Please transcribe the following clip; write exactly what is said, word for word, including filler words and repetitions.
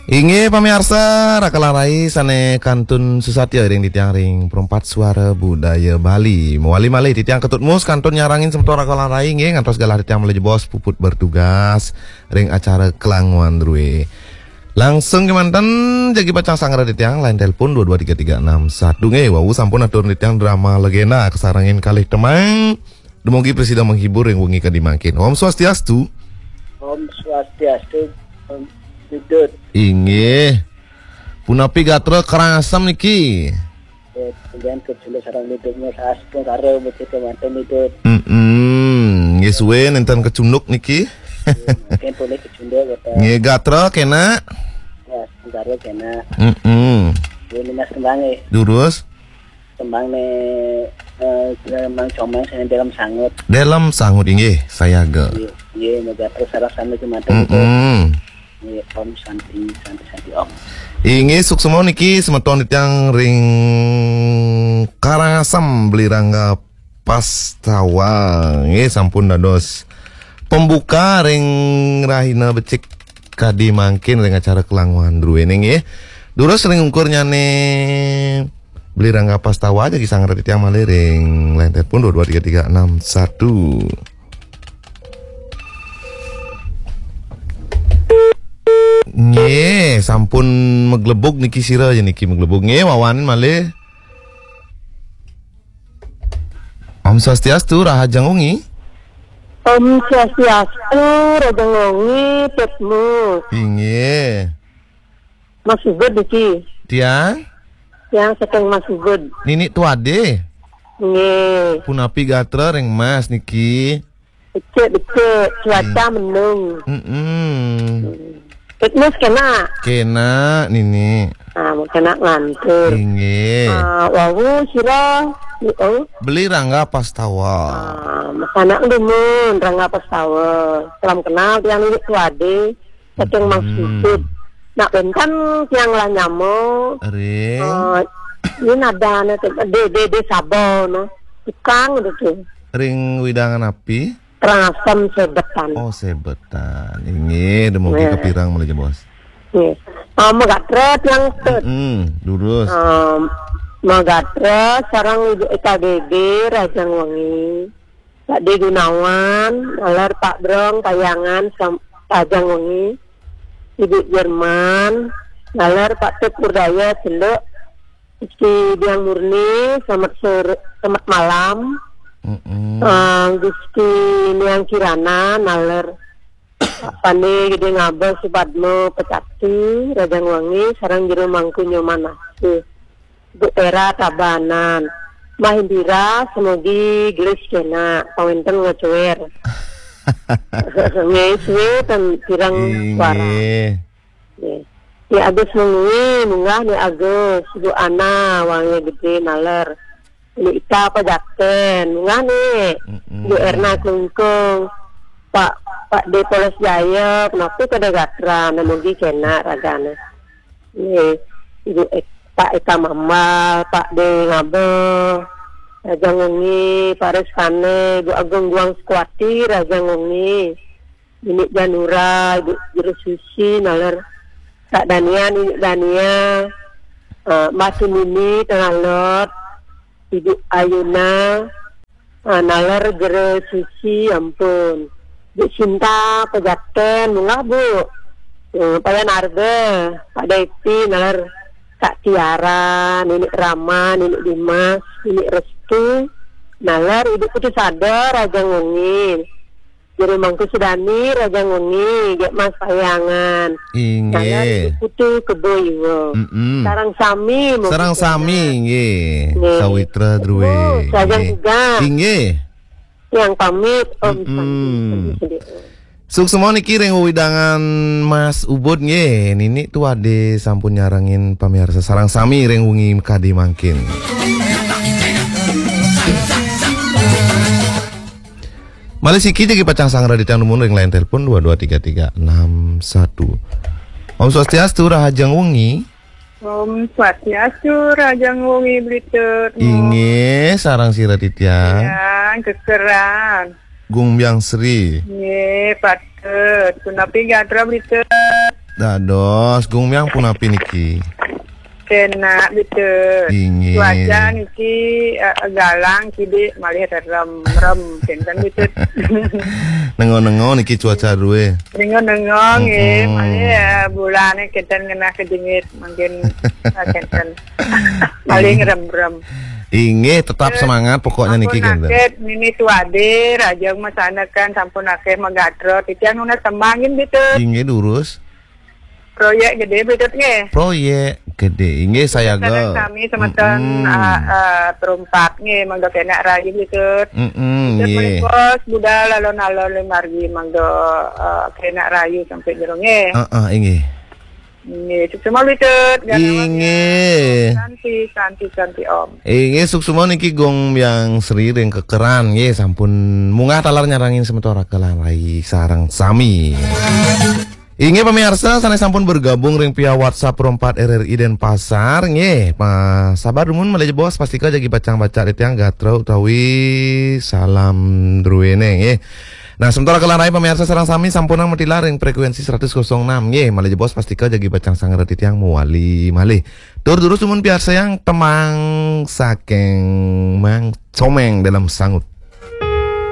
Inggih pamiarsa, Raka Larai sané kantun susatya ring titiang ring Perempat Suara Budaya Bali. Mawali malih titiang Ketut Mus kantun nyarengin semeton Raka Larai nggih, ngantos galah titiang malih jebos puput bertugas ring acara Klangoan Drue. Langsung kémanten jagi pacang sangra titiang, line telepon dua dua tiga tiga enam satu nggih. Wau sampun atur titiang drama legenda kasarengin kalih tembang. Dumugi prasida menghibur ring wengi kadi mangkin. Om Swastiastu. Om Swastiastu, Om Dudut. Inggih. Punapi gatra Karangasem niki? Eh, kemudian kecunduk sareng Dudut, sampun karo mesti kemanten Dudut. Mm-mm. Nggih suwe nénten kecunduk niki. Mungkin boleh kecunduk, kata. Nggih, gatra kénak? Ya, sampun karo kénak. Mm-mm. Ini Mas Kembang, eh. Durus? Tembang né, eh, Mang Comang sing Delem Sangut. Delem Sangut inggih, sayaga. Nggih, nggih, moga terus sareng sami kemanten. Mm-mm. Nggih, Om Santi, Santi, Santi Om. Inggih, suksma niki semeton titiang ring Karangasem Beli Rangga Pastawa. Nggih, sampun dados pembuka ring rahina becik kadi mangkin ring acara Klangoan Druene nggih. Durus ring ungkurnyané Beli Rangga Pastawa jagi sangra titiang malih ring line telepon dua dua tiga tiga enam satu. Nggih, sampun maglebug niki sira ya niki maglebug. Nggih, wawanin malih. Om Swastiastu, rahajeng wengi. Om Swastiastu, rahajeng wengi, Tut Mus. Inggih. Mas Ubud niki. Tiang? Tiang saking Mas Ubud. Nini Tuade? Nggih. Punapi gatra ring Mas niki? Becik, becik, cuaca mendung. Mm-mm. Tut Mus kénak? Kénak, Nini. Ah, kénak ngantur. Inggih. Ah, wau sira, oh. Beli Rangga Pastawa. Ah, mas anak dumun, Rangga Pastawa. Salam kenal tiang Nini Tuade. Saking Mas Ubud. Nak wénten tiang lah nyama. Ring. Eh, ini nadané Dé, Dé, Dé Saba, no. Tukang itu. Ring wewidangan api? Karangasem Sebetan. Oh, Sebetan. Inggih, dumugi kapirang malih jebos. Nggih. Ah, magatra tiang Tut. Mm, durus. Ah, magatra sareng Ibu Eka Dede, rahajeng wengi. Pak D Gunawan, naler Pak Brong, Payangan, sam-, rahajeng wengi. Ibu Jerman, naler Pak Tut Urdaya, Celuk. Gusti Diang Murni, selamat sore, selamat malam. Mm-mm. Eh, Gusti Niang Kirana, naler Pak Pande Gede Ngabeh, Supadmo, Pecati, rahajeng wengi, sareng Jero Mangku Nyoman Asih. Bu Era Tabanan. Mbah Indira, semogi gelis kénak, pawénten ngocoér. Nggih, suwe ten pirang suara. Inggih. Nggih. Ni Agus Mengwi, munggah Ni Agus, Bu Ana, Wangi Gede, naler. Ni Ita Pajaten, munggah Ni. Mm-mm. Bu Erna Klungkung, Pak, Pak D Polos Jaya, punapi kada gatra, namugi kénak ragane. Nggih, Ibu Ek-, Pak Eka Mambal, Pak D Ngabeh, rahajeng wengi, Pak Reskane, Bu Agung Guang Sukwati, rahajeng wengi. Nini Janura, Ibu Jero Susi, naler Kak Dania, Nini Dania, eh, Mbah Tunini, Tengah Lot, Ibu Ayuna, eh, naler Jero Susi, ampun. Bu Sinta, Pejaten, munggah, Bu. Eh, Payan Arbe, Pak Depi, naler Kak Tiara, Nini Rama, Nini Dimas, Nini Restu, naler Ibu Putu Sadar, rahajeng wengi. Jero Mangku Sudani, rahajeng wengi, Gék Mas Payangan. Inggih. Salam Putu Kebo Iwa. Mm-mm. Sareng sami, sareng sami, nggih. Nggih. Sawitra druwe. Oh, rahajeng nggih. Tugas. Inggih. Tiang pamit, Om Santi. Mm-mm. Santi, Santi. Suksma niki ring wewidangan Mas Ubud nggih. Nini Tuade sampun nyarengin pamiarsa sareng sami ring wengi kadi mangkin. Malih siki jagi pacang sangra titiang dumun ring line telepon dua dua tiga tiga enam satu. Om Swastiastu, rahajeng wengi. Om Swastiastu, rahajeng wengi Bli Tut. Inggih, sareng sira titiang. Titiang kekeran. Gung Biang Sri. Nggih, patut. Punapi gatra Bli Tut? Dados, Gung Myang punapi niki? Kena, Bitut. Inggih. Cuaca niki, eh, galang, kidik malih rerem-rem, kenten, Bitut. Nengo-nengo niki cuaca duwe. Nengo-nengo, nggih, mm-mm, malih, eh, bulane kenten ngenah kejengit, mangkin, eh, kenten. Paling rem-rem. Inggih, tetap semangat pokoknya niki, sampun kenten. Akeh nini tuadir, ajeng masanakan sampun akeh magatra. Titiang nunas tembang, nggih, Bitut. Inggih, durus. Proyek gede, Bitut, nggih. Proyek gede. Inggih, sayaga. Sareng sami semeton, mm-mm, ah, ah, perumpat, nggih, mangga kenak rayu, Bitut. Mm-mm, Bitut, nggih. Menika budal alon-alon lumargi, mangga, ah, kenak rayu sampai jero, nggih. Heeh, inggih. Nggih, suksma, Bitut. Inggih. Santi, santi, santi, Om. Inggih, suksma niki Gung Myang Sri ring Kekeran, nggih, sampun munggah taler nyarengin semeton Raka lan Rai sareng sami. Inggih pamiarsa, sané sampun bergabung ring via WhatsApp Pro empat R R I Denpasar, nggih, pa-, sabar dumun malih jebos, pastika jagi pacang baca titiang gatra utawi salam druéné, nggih. Nah, semeton Raka lan Rai pamiarsa sareng sami sampunang matilar ring frekuensi seratus kosong enam, nggih, malih jebos, pastika jagi pacang sangra titiang mawali malih. Tur durus dumun piarsayang tembang saking Mang Comeng Dalem Sangut.